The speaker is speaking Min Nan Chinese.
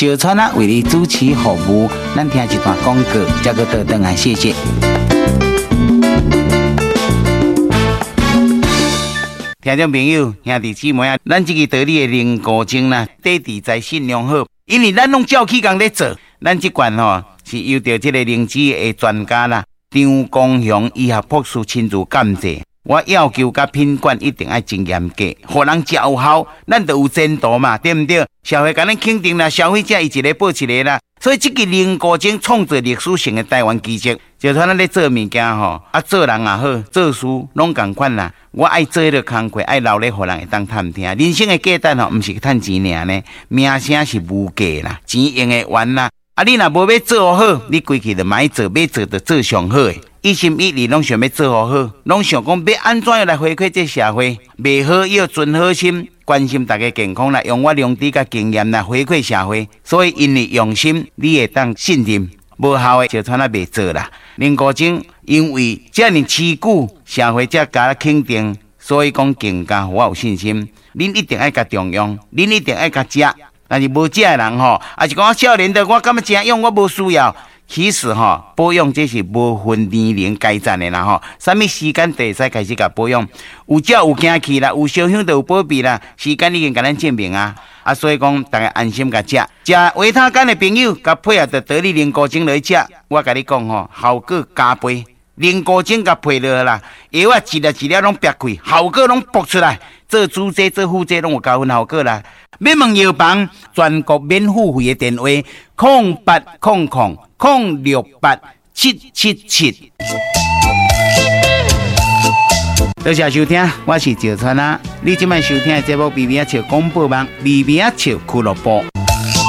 石川啊為你主持服務，咱聽一段廣告，再閣倒轉來，謝謝。聽眾朋友、兄弟姊妹啊，咱這个道理的凝固症啦，底佇在信良好，因為咱攏照起工咧做，咱這罐吼是由著這个靈芝的專家啦，張光雄醫學博士親自監製。我要求佮品管一定愛真嚴格，予人食有效，咱就有前途嘛，對毋對？社會共咱肯定啦，消費者伊一个報一个啦，所以這个凝固症創造歷史性的台灣奇蹟。就像咱咧做物件吼，啊做人也好，做事攏仝款啦。我愛做彼个工課，愛留咧，予人會當探聽。人生的價值吼，毋是趁錢爾呢，名聲是無價啦，錢用會完啦。啊，你若無欲做好，你規氣就莫做，欲做就做上好的。一心一意攏想欲做好，攏想講欲按怎樣來回饋這社會，袂好要存好心，關心大家健康啦，用我良知佮經驗來回饋社會。所以因為用心，你會當信任。無效的就賰仔袂做啦。林國晶因為遮爾持久，社會才共肯定，所以講更加予我有信心。恁一定愛共重用，恁一定愛共食。但是無食的人吼，抑是講我少年的，我感覺誠勇，我無需要。其實吼，保養這是無分年齡階層的啦吼，啥物時間都會使開始共保養。有食有行氣啦，有燒香就有保庇啦。時間已經共咱證明啊，啊，所以講大家安心共食。食維他乾的朋友，共配合著得力凝固精來食，我共你講吼，效果加倍。凝固精共配落啦，藥仔一粒一粒攏煏開，效果攏爆出來。做主劑做副劑攏有加分效果啦。欲問藥房全國免付費的電話：0800068777。多謝收聽，我是石川啊。你這擺收聽的節目《微微仔笑廣播網》，微微仔笑俱樂部。